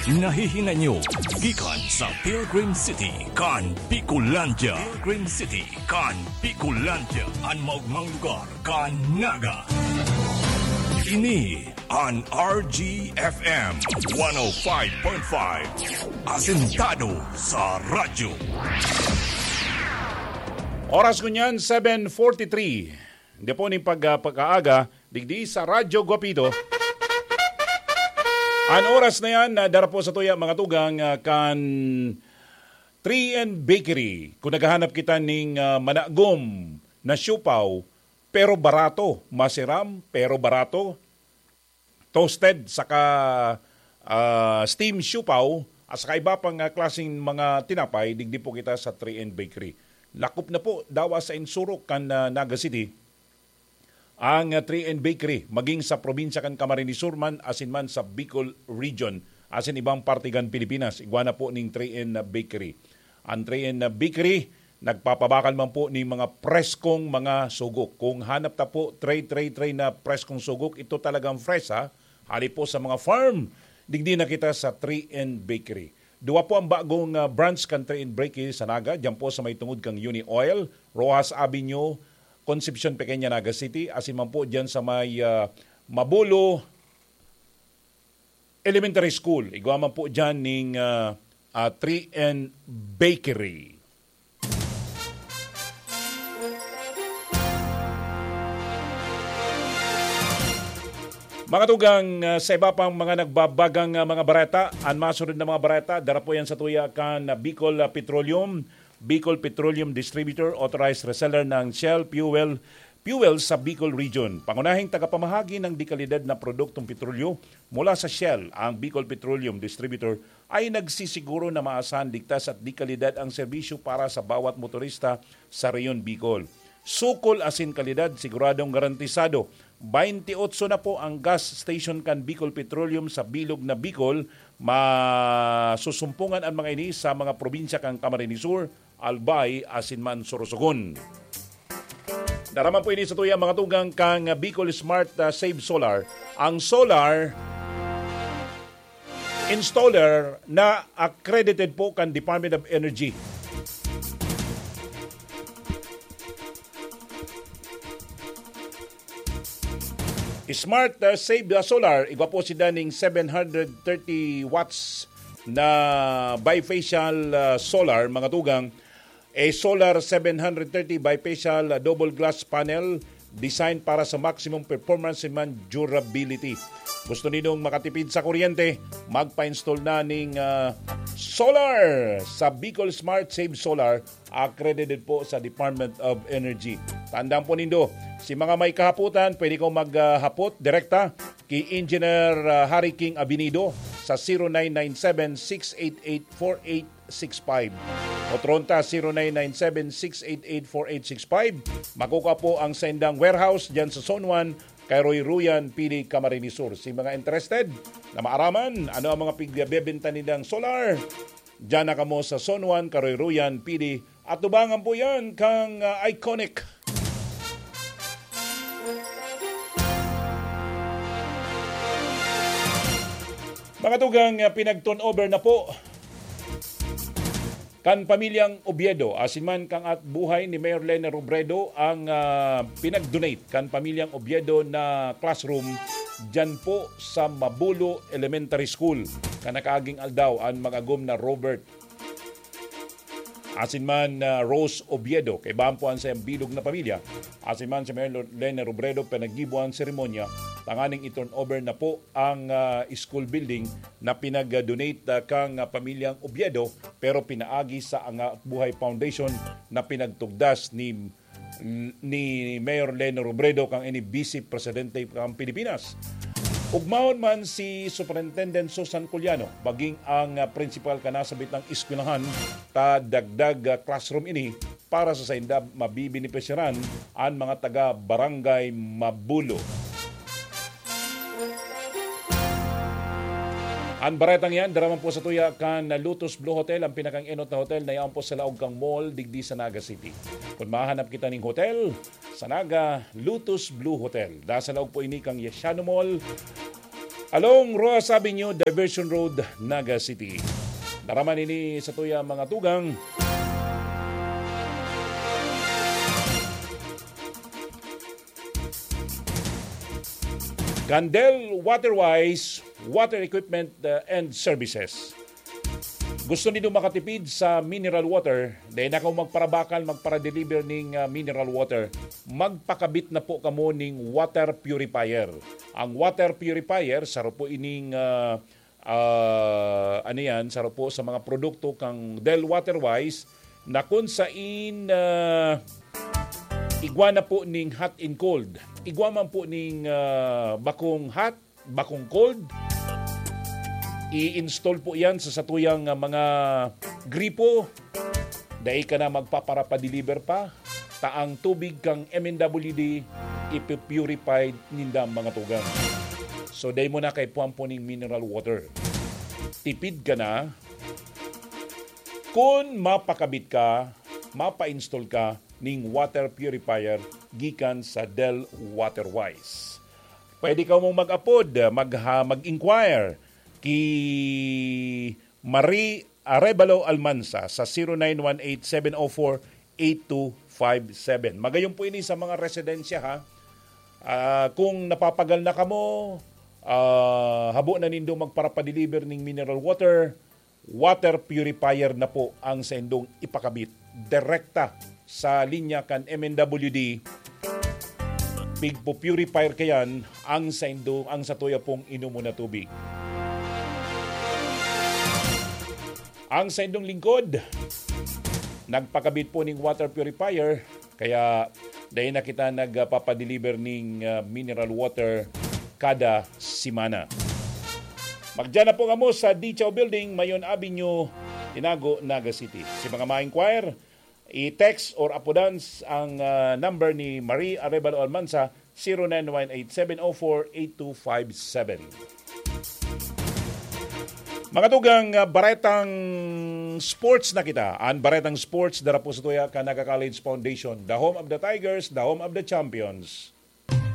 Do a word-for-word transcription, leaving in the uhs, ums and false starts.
Nahihinay nyo gikan sa Pilgrim City kan Bicolandia. Pilgrim City kan Bicolandia, an maogmang lugar kan Naga. Ini an R G F M one oh five point five, asentado sa radyo. Oras ngunyan, seven forty-three. Hindi po ning pag, ah, pag-aaga, digdi sa Radyo Guapido. An oras na yan, na dara po sa tuya, mga tugang, ah, kan three N Bakery. Kung naghahanap kita ning, ah, managom na siopao, pero barato, masiram, pero barato, toasted, saka, ah, steam siopao, at saka iba pang, ah, klaseng mga tinapay, digdi po kita sa three N Bakery. Lakop na po, dawa sa insurok kan, ah, Naga City, ang, ah, three N Bakery, maging sa probinsya kan Camarines Sur man, asin man sa Bicol Region, asin ibang parte kan Pilipinas. Igwa na po ning three N Bakery. Ang three N Bakery, nagpapabakal man po ning mga preskong mga sugok. Kung hanap ta po, three, three, three na preskong sugok, ito talagang fresh, ha? Hali po sa mga farm, digdi na kita sa three N Bakery. Duwa po ang bagong, ah, branch kan three N Bakery sa Naga, diyan po sa may tungod kang Uni Oil, Roxas Avenue, Concepcion Pequeña, Naga City, asin man po diyan sa may, ah, Mabulo Elementary School. Igwa man po diyan ning, ah, ah, three N Bakery. Mga tugang, ah, sa iba pang mga nagbabagang, ah, mga bareta, an masunod na mga bareta, dara po yan sa tuya kan, ah, Bicol, ah, Petroleum. Bicol Petroleum Distributor, authorized reseller ng Shell Fuel, fuel sa Bicol Region. Pangunahing tagapamahagi ng dekalidad na produktong petrolyo mula sa Shell, ang Bicol Petroleum Distributor, ay nagsisiguro na maasahan, ligtas at dekalidad ang serbisyo para sa bawat motorista sa Rehiyon Bicol. Sukol asin kalidad, siguradong garantisado. Baintiotso na po ang gas station kan Bicol Petroleum sa bilog na Bicol. Masusumpungan an mga ini sa mga probinsya kan Camarines Sur, Albay, asin man Sorsogon. Dara man po ini sa tuya, mga tugang, kan Bicol Smart, ah, Save Solar. Ang solar installer na accredited po kan Department of Energy. Smart, uh, Save the Solar, igwa po sinda ning seven hundred thirty watts na bifacial, uh, solar, mga tugang. A solar seven hundred thirty bifacial, uh, double glass panel, design para sa maximum performance and man durability. Gusto ninyong makatipid sa kuryente? Magpa-install na ning, uh, solar sa Bicol Smart Save Solar, accredited po sa Department of Energy. Tandaan po nindo, si mga may kahapotan, pwede kong maghapot direkta ki Engineer, ah, Harry King Abinido sa zero nine nine seven, six eight eight, four eight six five. Otro ta, zero nine nine seven, six eight eight, four eight six five. Makukuha po ang saindang warehouse diyan sa Zone one, Karoy-Ruyan, Pili, Camarines Sur. Si mga interested na maaraman ano ang mga pigbebenta nilang solar, diyan na kamo sa Zone one, Karoy-Ruyan, Pili, atubangan po yan kang, ah, Iconic. Mga tugang, ah, pinag-turnover na po kan pamilyang Oviedo, asin man kan at buhay ni Mayor Lene Robredo ang, ah, pinag-donate kan pamilyang Oviedo na classroom diyan po sa Mabulo Elementary School, kan nakaaging aldaw an mag-agom na Robert asin man, ah, Rose Oviedo, kaibahan po an sayang bilog na pamilya. Asin man si Mayor Lene Robredo pinaggibo an seremonya tanganing i-turnover na po ang, ah, school building na pinag-donate, ah, kang, ah, pamilyang Oviedo, pero pinaagi sa Angat Buhay Foundation na pinagtugdas ni, ni Mayor Lene Robredo, kan ini Vice Presidente kan Pilipinas. Ugmahon man si Superintendent Susan Culiano, maging ang, ah, principal kan nasabitang eskwelahan, ta dagdag, ah, classroom ini para sa sainda mabibenepisyaran an mga taga Barangay Mabulo. An baretang yan, dara man po sa tuya kan Lotus Blue Hotel, ang pinakang-enot na hotel na yaon po sa laog kang mall, digdi sa Naga City. Kung mahanap kita ning hotel sa Naga, Lotus Blue Hotel. Nasa laog po ini kang Yasiano Mall, Along Roxas Avenue, Diversion Road, Naga City. Daraman ini sa tuya mga tugang. Candel Waterwise, Water Equipment uh, and Services. Gusto nindo makatipid sa mineral water? Dai na kamo magparabakal, magparadeliver ning ah, mineral water. Magpakabit na po kamo ning water purifier. Ang water purifier, saro po ining ah, ah, ano yan, saro po sa mga produkto kang Del Waterwise na kun sain ah, igwa na po ning hot and cold. Igwa man po ning ah, bakong hot, bakong cold. I-install po yan sa satuyang ah, mga gripo. Dai ka na magpaparapadeliver pa. Ta ang tubig kang M N W D ipipurified ninda mga tugang. So dai mo na kaipuhan po ning mineral water. Tipid ka na kun mapakabit ka, mapa-install ka ning water purifier gikan sa Del Waterwise. Pwede ka mong mag-apod, mag, ha, mag-inquire ki Marie Arevalo Almansa sa zero nine one eight seven oh four eight two five seven. Magayon po ini sa mga residensya, ha. Ah, kung napapagal na kamo, ah, habo na nindo magparapadeliver ning mineral water, water purifier na po ang saindong ipakabit direkta sa linya kan M N W D. Pigpo-purifier kayan ang saindo, ang satuya pong inomon na tubig. Ang saindong lingkod, nagpakabit po ning water purifier, kaya dai na kita nagpapadeliver ning ah, mineral water kada semana. Magdiyan na po kamo sa Dichaw Building, Mayon Avenue, Tinago, Naga City. Si mga ma-inquire, i-text or apodan s- ang ah, number ni Marie Arevalo Almansa, zero nine one eight seven oh four eight two five seven. Mga tugang, ah, baretang sports na kita. Ang baretang sports, dara po sa tuya kan Naga College Foundation, the home of the Tigers, the home of the champions.